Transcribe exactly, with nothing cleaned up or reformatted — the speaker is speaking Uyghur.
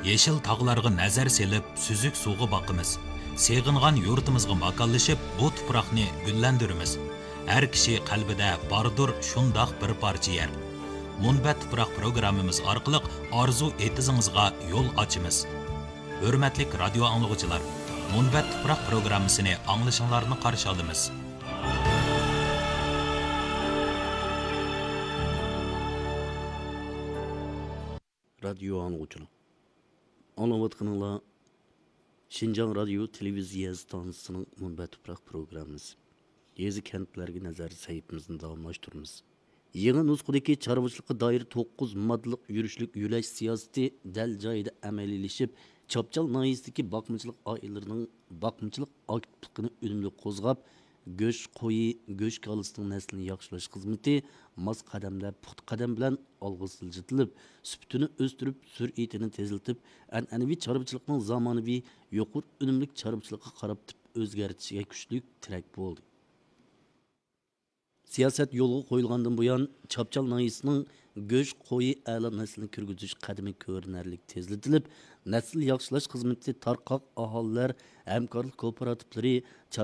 يېشىل تاغلارغا نەزەر سېلىپ، سۈزۈك سۇغا باقىمىز. سېغىنغان يۇرتىمىزغا ماكانلىشىپ، بۇ تۇپراقنى گۈللەندۈرىمىز. ھەر كىشى قەلبىدە باردۇر شۇنداق بىر پارچە يەر. مۇنبەت تۇپراق پروگراممىمىز ئارقىلىق ئارزۇ ئېتىزىڭىزغا يول ئاچىمىز. ھۆرمەتلىك رادىيو ئاڭلىغۇچىلار، مۇنبەت تۇپراق پروگراممىسىنى ئاڭلىشىڭلارنى قارشى ئالىمىز. رادىيو ئاڭلىغۇچىلار، ئاڭلاۋاتقىنىڭلار شىنجاڭ رادىيو تېلېۋىزىيە ئىستانسىسىنىڭ مۇنبەت تۇپراق پروگراممىسى. يېزا، كەنتلەرگە نەزەر سەھىپىمىزنى داۋاملاشتۇرىمىز. يېڭى نۇسخىدىكى چارۋىچىلىققا دائىر توققۇز ماددىلىق يۈرۈشلۈك يۆلەش سىياسىتى دەل جايىدا ئەمەلىيلىشىپ، چاپچال ناھىيەسىدىكى باقمىچىلىق ئائىلىلىرىنىڭ باقمىچىلىق ئاكتىپلىقىنى ئۈنۈملۈك قوزغاپ، گۆش قويى، گۆش كالىسىنىڭ نەسلىنى ياخشىلاش خىزمىتى ماس قەدەمدە، پۇختا قەدەم بىلەن ئالغا سىلجىتىلىپ، سۈپىتىنى ئۆستۈرۈپ، سۈرئىتىنى تېزلىتىپ، ئەنئەنىۋى چارۋىچىلىقنىڭ زامانىۋى، يۇقىرى ئۈنۈملۈك چارۋىچىلىققا قاراپ ئۆزگەرتىشىگە كۈچلۈك تىرەك بولدى. سىياسەت يولغا قويۇلغاندىن بۇيان، چاپچال ناھىيەسىنىڭ گۆش قويى ئەلا نەسلىنى كىرگۈزۈش قەدىمى كۆرۈنەرلىك تېزلىتىلىپ، نەسىل ياخشىلاش خىزمىتى تارقاق ئاھالىلەر ھەمكارلىق كوپىراتىپلىرى،